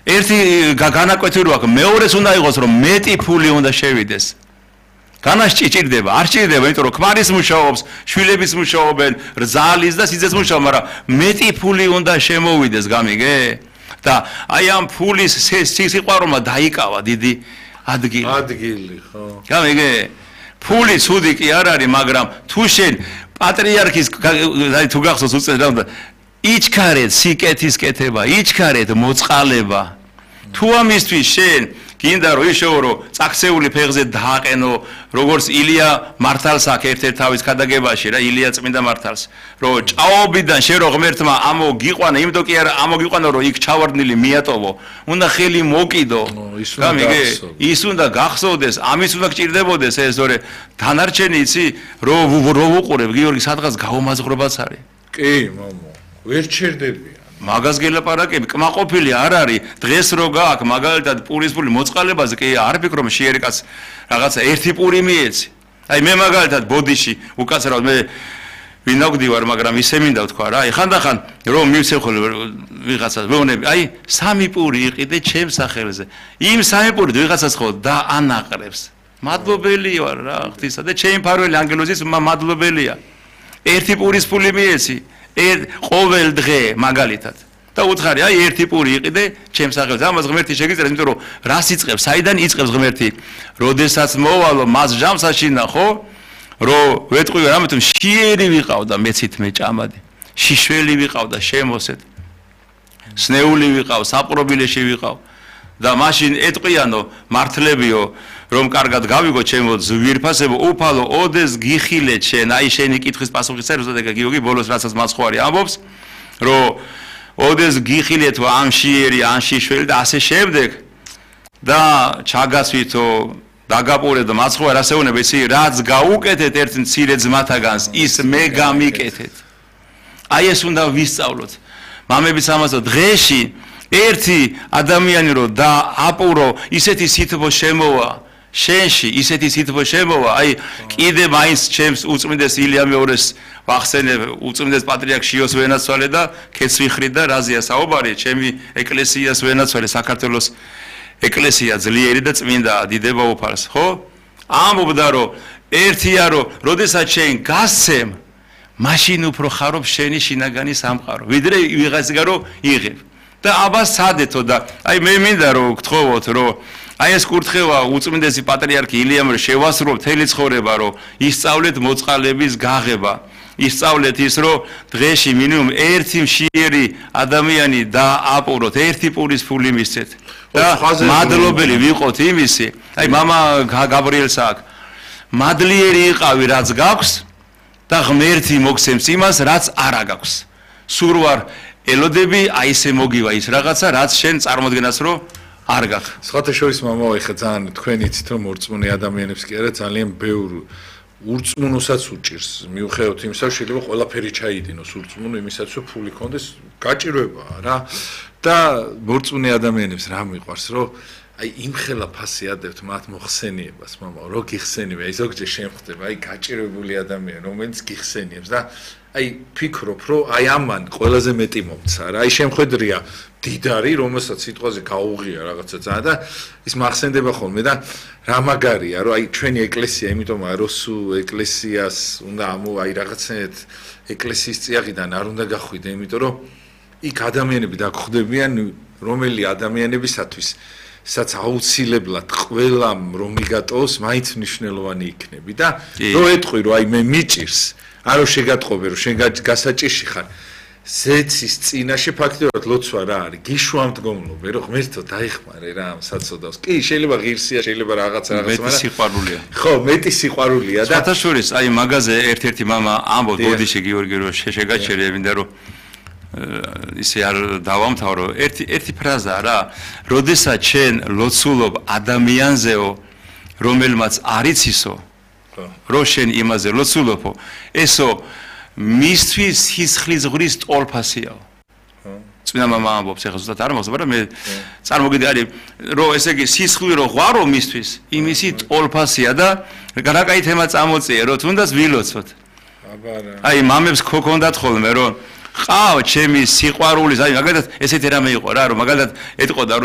ერთი განაკვეთი რო აქვს, მეორეს უნდა იყოს რომ მეტი ფული უნდა შევიდეს. განასჭირდება, არ სჭირდება, იმიტომ რომ ქმარის მუშაობს, შვილების მუშაობენ, რძალის და სიძეს მუშაობ, მაგრამ მეტი ფული უნდა შემოვიდეს, გამიგე? და აი ამ ფულის სიყვარულმა დაიკავა დიდი ადგილი, ხო. გამიგე? ფული ცუდი კი არ არის, მაგრამ თუ შენ პატრიარქის თუ გახსოვს უწევს რა უნდა იჩქარეთ სიკეთის კეთება, იჩქარეთ მოწყალება. თუ ამისთვის შენ გინდა რომ ისეო რომ წაქცეული ფეხზე დააყენო, როგორც ილია მართალს აქ ერთ-ერთ თავის ქადაგებაში რა, ილია წმინდა მართალს, რომ ჭაობიდან შენ რო ღმერთმა ამოგიყვანა, იმიტომ კი არა ამოგიყვანა რომ იქ ჩავარდნილი მიატოვო, უნდა ხელი მოკიდო. გამიგე? ის უნდა გახსოვდეს, ამის უნდა გჭირდებოდეს ეს, თორე დანარჩენი იცი, რო ვუყურებ, გიორგი სადღაც გაუმაზღრობაც არის. კი, მამო, ვერ ჩერდებიან. მაგას გელაპარაკები, კმაყოფილი არ არის, დღეს რო გააქვს მაგალითად პურის ფული მოწყალებაზე, კი არ ფიქრობ შეერი კაც რაღაცა ერთი პური მიეცი. აი მე მაგალითად ბოდიში უკაცრავად მე ვინაგვდი ვარ, მაგრამ ისე მინდა ვთქვა რა, აი ხანდახან რომ მივცე ხოლმე ვიღაცას ვეუბნები, აი სამი პური იყიდე ჩემს სახელზე. იმ სამი პური ვიღაცას ხო დაანაყრებს. მადლობელი ვარ რა ღვთისა და ჩემი მფარველი ანგელოზის მადლობელია. ერთი პურის ფული მიეცი. ყოველ დღე მაგალითად და უთხარი აი ერთი პური იყიდე ჩემს სახელზე ამას ღმერთი შეგიძლია იმიტომ რომ რას იწყებს საიდან იწყებს ღმერთი როდესაც მოვალო მას ჟამს აშინა ხო რომ ვეტყვი რამე თუ შიერი ვიყავდა მეცით მე ჭამადი შიშველი ვიყავდა შემოსეთ სნეული ვიყავ საპრობილეში ვიყავ და მაშინ ეტყვიანო მართლებიო რომ კარგად გავიგო ჩემო ზვირფასებო უფალო ოდეს გიხილეთ შენ აი შენი კითხვის პასუხი წერს და გიორგი ბოლოს რასაც მასხვარი ამბობს რომ ოდეს გიხილეთო ამ შიერი ან შიშველი და ასე შემდეგ და ჩაგასვითო დაგაპურებდო მასხვარ ასეუნებ იცი რაც გაუკეთეთ ერთ მცირე ძმათაგანს ის მე გამიკეთეთ აი ეს უნდა ვისწავლოთ მამებიც ამასო დღეში ერთი ადამიანი რო და აპურო ისეთი სითბო შემოვა შენში ისეთი სითბო შემოვა აი კიდე მაინც ჩემს უწმინდეს ილია მეორეს ვახსენებ უწმინდეს პატრიარქ შიოს ვენაცვალე და ქეცვიხრით და რაზია საუბარი ჩემი ეკლესიას ვენაცვალე საქართველოს ეკლესია ძლიერი და წმინდა დიდება უფალს ხო ამბობდა რომ ერთია რომ როდესაც შენ გასცემ მაშინ უფრო ხარობ შენი შინაგანი სამყარო ვიდრე ვიღაცგან რომ იღებ და აბას სადეთო და აი მე მინდა რომ გთხოვოთ რომ აი ეს კურთხევა უწმინდესი პატრიარქი ილიამ შევასრულო მთელი ცხოვრება რომ ისწავლეთ მოწყალების გაღება ისწავლეთ ის რომ დღეში მინიმუმ ერთი მშიერი ადამიანი დააპუროთ ერთი პურის ფული მისცეთ და მადლობელი ვიყოთ იმისი აი მამა გაბრიელს აქ მადლიერი იყავი რაც გაქვს და ღმერთი მოგცემს იმას რაც არა გაქვს სულ ვარ ელოდები აი ესე მოგივა ის რაღაცა რაც შენ წარმოდგენას რომ არ გაქვს. სხვათა შორის მამაო ეხა ძალიან თქვენ იცით რომ მორწმუნე ადამიანებს კი არა ძალიან ბევრ ურწმუნოსაც უჭირს მიუხედავად იმისა შეიძლება ყველაფერი ჩაიდინოს ურწმუნო იმისაც რომ ფული კონდეს გაჭირვებაა რა და მორწმუნე ადამიანებს რა მიყვარს რომ აი იმხელა ფასი ადებთ მათ მოხსენიებას მამაო რო გიხსენიება აი ზოგჯერ შემხვდება აი გაჭირვებული ადამიანი რომელიც გიხსენიებს და აი ფიქრობ რომ აი ამან ყველაზე მეტი მომცა რა აი შემხედრია დიდარი რომელსაც სიტყვაზე გაუღია რაღაცა ძალიან და ის მახსენდება ხოლმე და რა მაგარია რომ აი ჩვენი ეკლესია იმიტომაა რომ სუ ეკლესიას უნდა აი რაღაცნაირად ეკლესიის წიაღიდან არ უნდა გახვიდე იმიტომ რომ იქ ადამიანები დაგხვდებიან რომელი ადამიანებისათვის სადაც აუცილებლად ყველამ რომ მიგატოვოს მაინც მნიშვნელოვანი იქნები და რო ეტყვი რომ აი მე მიჭირს არო შეგატყობე რომ შენ გასაჭირში ხარ ზეცის წინაშე ფაქტობრივად ლოცვა რა არის გიშვამდგომლობე რომ ღმერთო დაიხმარე რა ამ საწოდავს კი შეიძლება ღირსია შეიძლება რაღაცა მეტი სიყვარულია ხო მეტი სიყვარულია და სათავშორის აი მაგაზე ერთ-ერთი მამა ამბობს ბოდიში გიორგი რომ შეგაჩერე მინდა რომ ისე არ დავამთავრო ერთი ფრაზა რა როდესაც შენ ლოცულობ ადამიანზეო რომელმაც არიცისო რო შენ იმაზე ლოცულობო ესო მისთვის სისხლის ღრის ტოლფასიაო წინა მამა ამბობს ეხლა ზუსტად არ მახსოვს მაგრამ მე წარმოგიდგენთ არის რომ ესე იგი სისხლი რო ღვარო მისთვის იმისი ტოლფასია და გარაკაი თემა წამოწიე რომ თუნდაც ვილოცოთ აი მამებს ქონდათ ხოლმე რომ ყავ ჩემი სიყვარულის აი მაგალითად ესეთი რამე იყო რა რომ მაგალითად ეტყოდა